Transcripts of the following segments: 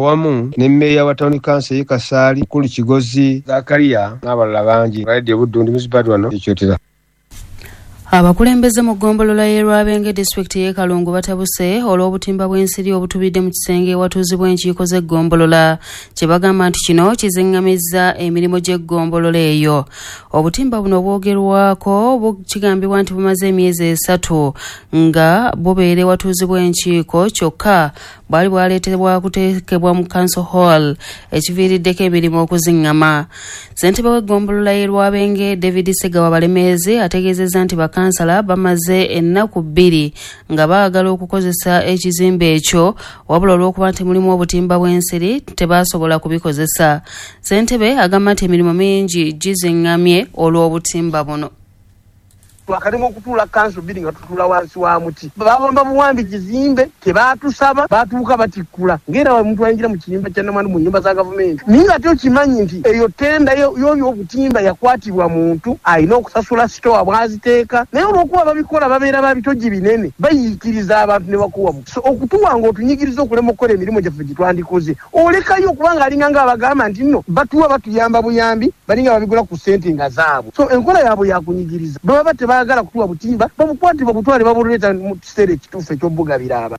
Wamu ne mmeeya wa Town Council y'e Kasaali, Mukulu Kigozi Zakariya n'abalala bangi. Radio Buddu, ndi Muzibad wano ekyotera. Abakulembeze mu ggombolola y'e Lwabenge, disitulikiti y'e Kalungu, batabuse olw'obutimba bw'ensiri obutubidde mu kisenge ewatuuzibwa enkiiko z'eggombolola, kye bagamba nti kino kiziŋŋamizza emirimu gy'eggombolola eyo. Obutimba buno bwogerwako kigambibwa nti bumaze emyezi 3 nga bubeera ewatuuzibwa enkiiko, kyokka bwali bwaleetebwa kuteekebwa mu council hall, ekiviiriddeko emirimu okuziŋŋama. Ssentebe w'eggombolola y'e Lwabenge, David Segawa Balemeezi, ategeezezza nti bakansala bamaze ennaku 2 nga baagala okukozesa ekizimbe ekyo, wabula olw'okuba nti mulimu obutimba bw'ensiri tebasobola kubikozesa. Ssentebe agamba nti emirimu mingi giziŋŋamye olw'obutimba buno. Twakalimu okutuula kanso 2 nga tutuula wansi wa muti. Babamba buwambi kizimbe, tebatusaba, batuuka batikkula. Ng'era omuntu ayingira mu kiyumba kya namwandu mu nnyumba za gavumenti. Naye nga ate okimanyi nti eyo tenda y'oyo obutimba yakwatibwa muntu alina okusasula sitowa bw'aziteeka. Naye olw'okuba babikola babeera ba bitogi binene, bayiikiriza abantu ne bakuwa. So okutuwa ng'otunyigiriza okulema okukola emirimu gyaffe gye twandikoze. Olekayo kubanga alinga ng'abagamba nti nno batuwa batuyamba buyambi, balinga babigula ku ssente nga zaabwe. So enkola yaabwe yakunyigiriza. Bwe baba baagala kutuwa butimba, babukwate babutwale babuleeta mu kiseera ekituufu eky'obugabira aba.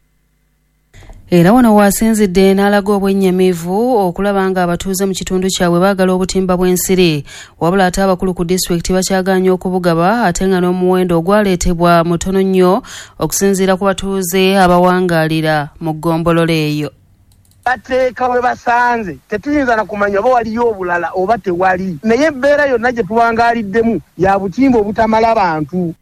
Era wano waasinzidde n'alaga obwennyamivu okulaba nga abatuuze mu kitundu kyabwe baagala obutimba bw'ensiri, wabula ate abakulu ku disitulikiti bakyagaanye okubugaba, ate nga n'omuwendo ogwaleetebwa mutono nnyo okusinziira ku batuuze abawangaalira mu ggombolola eyo. Bateeka we basanze, tetuyinza na kumanya oba waliyo obulala oba tewali, naye embeera yonna gye tuwangaaliddemu ya butimba obutamala bantu.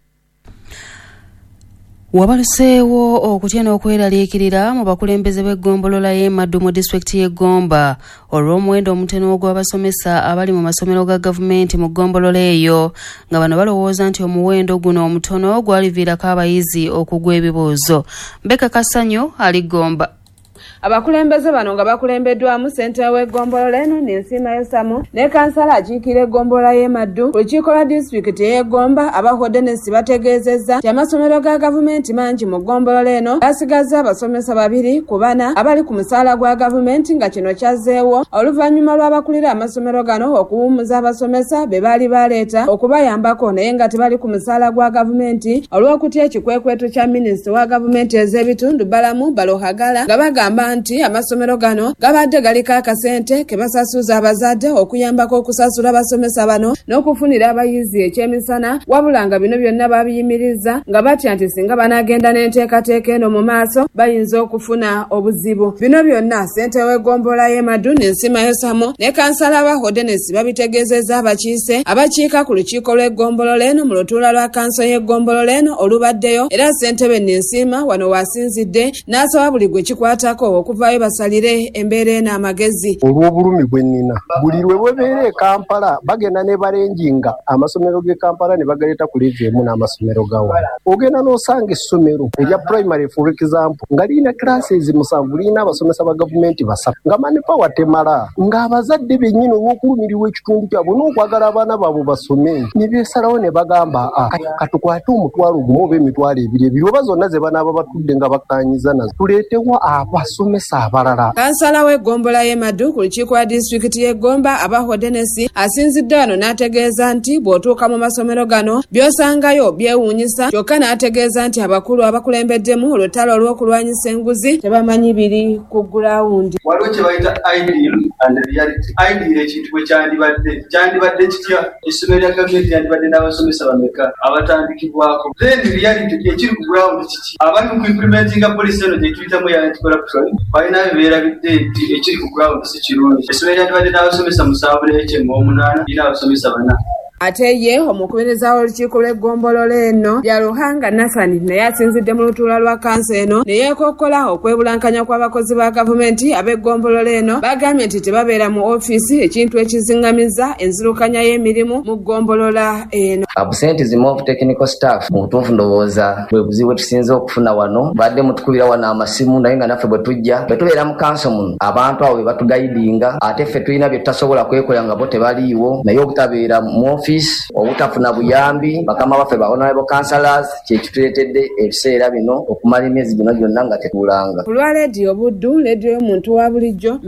Wabaluseewo okutya n'okweraliikirira mu bakulembeze b'eggombolola y'e Maddu mu disitulikiti y'e Gomba olw'omuwendo omutono ogw'abasomesa abali mu masomero ga gavumenti mu ggombolola eyo, nga bano balowooza nti omuwendo guno omutono gwaliviirako abayizi okugwa ebibuuzo. Mbeka Kasanyu ali Gomba. Abakulembeze bano nga bakulembeddwamu ssentebe w'eggombolola eno Ninsiima Yosamu ne kansala akiikira eggombolola y'e Maddu ku lukiiko lwa disitulikiti ey'e Gomba, aba Dennis, bategeezezza nti amasomero ga gavumenti mangi mu ggombolola eno gasigazza abasomesa 2 ku 4 abali ku musaala gwa gavumenti, nga kino kyazzeewo oluvannyuma lw'abakulira amasomero gano okuwummuza abasomesa be baali baleeta okubayambako naye nga tebali ku musaala gwa gavumenti olw'okutya ekikwekweto kya minisita wa gavumenti ez'ebitundu Balamu Baluhagala, nga bagamba nti amasomero gano gabadde galiko akasente ke basasuza abazadde okuyambako okusasula abasomesa bano n'okufunira abayizi ekyemisana, wabula nga bino byonna babiyimiriza nga batya nti singa banaagenda n'enteekateeka eno mu maaso bayinza okufuna obuzibu. Bino byonna ssentebe w'eggombolola y'e Maddu Ninsiima Yosamu ne kansala ba Dennis babitegeezezza abakiise abakiika ku lukiiko lw'eggombolola eno mu lutuula lwa kanso y'eggombolola eno olubaddeyo, era ssentebe Ninsiima wano waasinzidde n'asaba buli gwe kikwatako okuvaayo basalire embeera eno amagezi. Olw'obulumi bwe nnina, buli lwe bwebeera e Kampala bagenda ne balenjinga amasomero g'e Kampala ne bagaleeta ku level emu n'amasomero ga wano. Ogenda n'osanga essomero erya primary, for example, nga lirina classes 7, lirina abasomesa ba gavumenti 3, nga manpower temala, ng'abazadde bennyini olw'okulumirirwa ekitundu kyabwe n'okwagala abaana baabwe basome ne beesalawo ne bagamba katukwate 1,000 oba 2,000 2 oba zonna ze banaaba batudde nga bakkaanyiza nazo, tuleetewo abasomesa abalala. Kansala w'eggombolola y'e Maddu ku lukiiko lwa disitulikiti y'e Gomba aba Dennis asinzidde wano n'ategeeza nti bw'otuuka mu masomero gano by'osangayo byewuunyisa, kyokka n'ategeeza nti abakulu abakulembeddemu olutalo olw'okulwanyisa enguzi tebamanyi biri ku gulawundi. Waliwo kye bayita ideal and reality. Ideal ekintu bwe kyandibadde kitya, essomero lya gavumenti lyandibadde n'abasomesa bameka abatandikibwako. Then reality ekiri ku ground kiki? Abali mu kuimplementinga policy eno gye tuyitamu ya anti-corruption balina beerabidde nti ekiri ku ground si kirungi. Essomero lyandibadde n'abasomesa 7 n'ekyemu 8, lirina abasomesa 4. Ate ye omukubiriza w'olukiiko lw'eggombolola eno lya Ruhanga Nathan naye asinzidde mu lutuula lwa kanso eno ne yeekokkola okwebulankanya kw'abakozi ba gavumenti ab'eggombolola eno. Bagambye nti tebabeera mu ofiisi, ekintu ekiziŋŋamiza enzirukanya y'emirimu mu ggombolola eno. Absenteeism of technical staff mu butuufu ndowooza bwe buzibu bwe tusinze okufuna wano. Badde mutukubira wano amasimu, naye nga naffe bwe tujja bwe tubeera mu kanso muno abantu abo be batugayidinga, ate ffe tulina bye tutasobola kwekolera nga bo tebaliiwo, naye obutabeera mu ofiisi ofiisi, obutafuna buyambi bakama baffe ba honorable councillors, kyekituleetedde ebiseera bino okumala emyezi gino gyonna nga tetuulanga. Ku lwa Leediyo Buddu, leediyo y'omuntu wa bulijjo.